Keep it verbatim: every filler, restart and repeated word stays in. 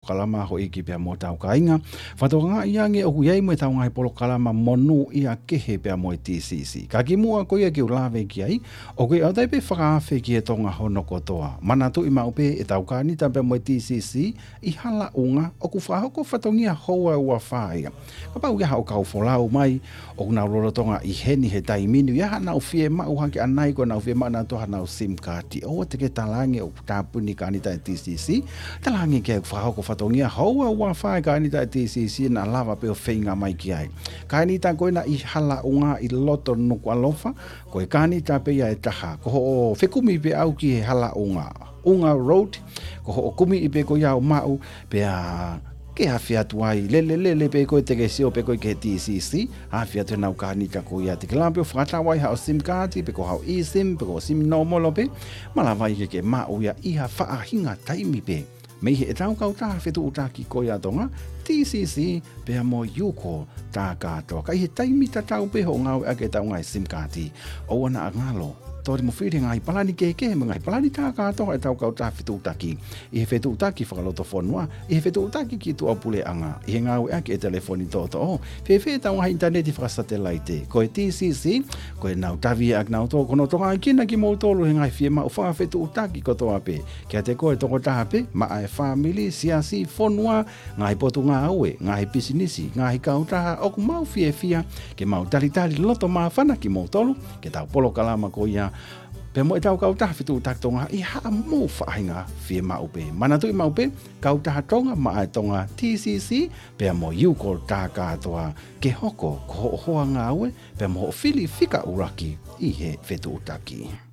polokalama houʻeiki pea mo hotau kāinga. Fakatokangaʻi ange ʻoku ʻi ai mo ʻetau ngaahi polokalama monūʻia kehe pea mo e T C C. Ka kimuʻa ko ia ke u lave ki ai, ʻoku ʻi ai ʻa e pē fakaafe ki he Tonga hono kotoa. Manatuʻi maʻu pē ʻetau kānita pea mo e T C C ʻi Halaʻunga, ʻoku fakahoko fatongia houa ʻe ua fā ia. Kapau ʻoku ʻi ai haʻo kau folau mai, ʻoku nau lolotonga ʻi heni he taimi ni, ʻi ai haʻanau fiemaʻu hake ʻanai ko ʻenau fiemaʻu nautolu haʻanau SIM card. ʻOua te ke talaange ʻoku tāpuni kānita e T C C. Talaange ke fakahoko fatongia houa ʻe ua fā e kānita e T C C naʻa lava pē ʻo feinga mai ki ai. Kānita ko ena ʻi Halaʻunga ʻi loto Nukuʻalofa, ko e kānita pē ia ʻe taha. Ko hoʻo fekumi pē ʻau ki he Halaʻunga, ʻUnga Road, ko hoʻo kumiʻi pē ko ia ʻo maʻu, pea ke afe atu ai, lele, lele pē koe te ke sio pē koe ki he T C C, afe atu ʻenau kānita ko ia te ke lava pē ʻo fakatau ai haʻo SIM card, pe ko haʻo eSIM, pe ko e SIM nōmolo pē, malava ai ke ke maʻu ia ʻi ha faʻahinga taimi pē. Mei heʻetau kautaha fetuʻutaki ko ia ʻa Tonga, T C C, pea mo UCall, tā kātoa. Ka ʻi he taimi tatau pē hoʻo ngāueʻaki ʻetau ngaahi SIM card, ʻoua naʻa ngalo, toli mo fili he ngaahi palani kehekehe mo e ngaahi palani tā kātoa ʻetau kautaha fetuʻutaki. ʻI he fetuʻutaki fakalotofonua, ʻi he fetuʻutaki ki tuʻapuleʻanga, ʻi he ngāueʻaki e telefoni toʻotoʻo, fēfē ʻetau ngaahi ʻinitaneti fakasatelaite. Ko e T C C, ko ʻenau tavi ʻaki nautolu, ko hono tokangaʻi kinautolu he ngaahi fiemaʻu fakafetuʻutaki kotoa pē. Kiate koe tokotaha pē, maʻa e fāmili, siasi, fonua, ngaahi potungāue, ngaahi pisinisi, ngaahi kautaha, ʻoku mau fiefia ke mau talitali loto māfana kimoutolu, ki heʻetau polokalama ko ia, pea mo ʻetau kautaha fetuʻutaki Tonga ʻi haʻamou faʻahinga fiemaʻu pē. Manatuʻi maʻu pē, kautaha Tonga maʻa e Tonga, T C C, pea mo UCall tā kātoa, ke hoko ko hoʻo hoa ngāue, pea mo hoʻo fili fika ʻuluaki ʻi he fetuʻutaki.